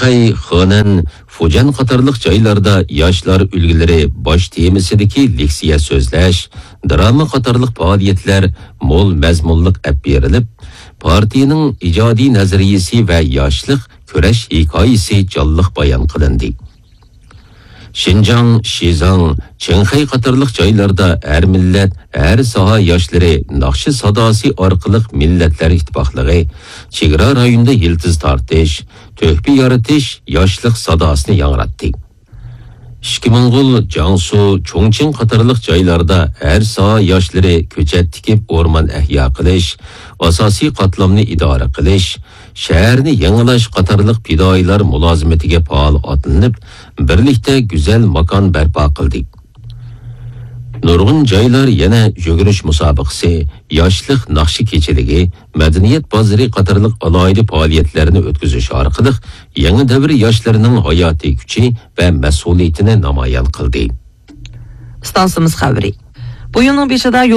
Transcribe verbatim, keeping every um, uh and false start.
شاڭخەي، خېنەن، فۇجيەن قاتارلىق جايلاردا ياشلار ئۈلگىلىرى باش تېمىسىدىكى لېكسىيە سۆزلەش، دىراما قاتارلىق پائالىيەتلەر مول مەزمۇنلۇق ئەپ بېرىلىپ، پارتىيىنىڭ ئىجادىي نەزەرىيىسى ۋە ياشلىق كۈرەش ھېكايىسى جانلىق بايان قىلىندى. شىنجاڭ، شىزاڭ، چىڭخەي قاتارلىق جايلاردا ھەر مىللەت، ھەر ساھە ياشلىرى ناخشا ساداسى ئارقىلىق مىللەتلەر ئىتتىپاقلىقى، چېگرا رايونىدا يىلتىز تارتىش، تۆھپە يارىتىش ياشلىق ساداسىنى ياڭراتتى. ئىككى موڭغۇل، جياڭسۇ، چۇڭچىڭ قاتارلىق جايلاردا ھەر ساھە ياشلىرى كۆچەت تىكىپ، ئورمان ئەھيا قىلىش، ئاساسىي قاتلامنى ئىدارە قىلىش، شەھەرنى يېڭىلاش قاتارلىق پىدائىيلار مۇلازىمىتىگە پائال ئاتلىنىپ، بىرلىكتە گۈزەل ماكان بەرپا قىلدى. نۇرغۇن جايلار يەنە يۈگۈرۈش مۇسابىقىسى، ياشلىق ناخشا كېچىلىكى، مەدەنىيەت بازىرى قاتارلىق ئالاھىدە پائالىيەتلەرنى ئۆتكۈزۈش ئارقىلىق يېڭى دەۋر ياشلىرىنىڭ ھاياتىي كۈچى ۋە مەسئۇلىيىتىنى نامايان قىلدى. ئىستانسىمىز خەۋىرى. بۇ يىلنىڭ بېشىدا يولغا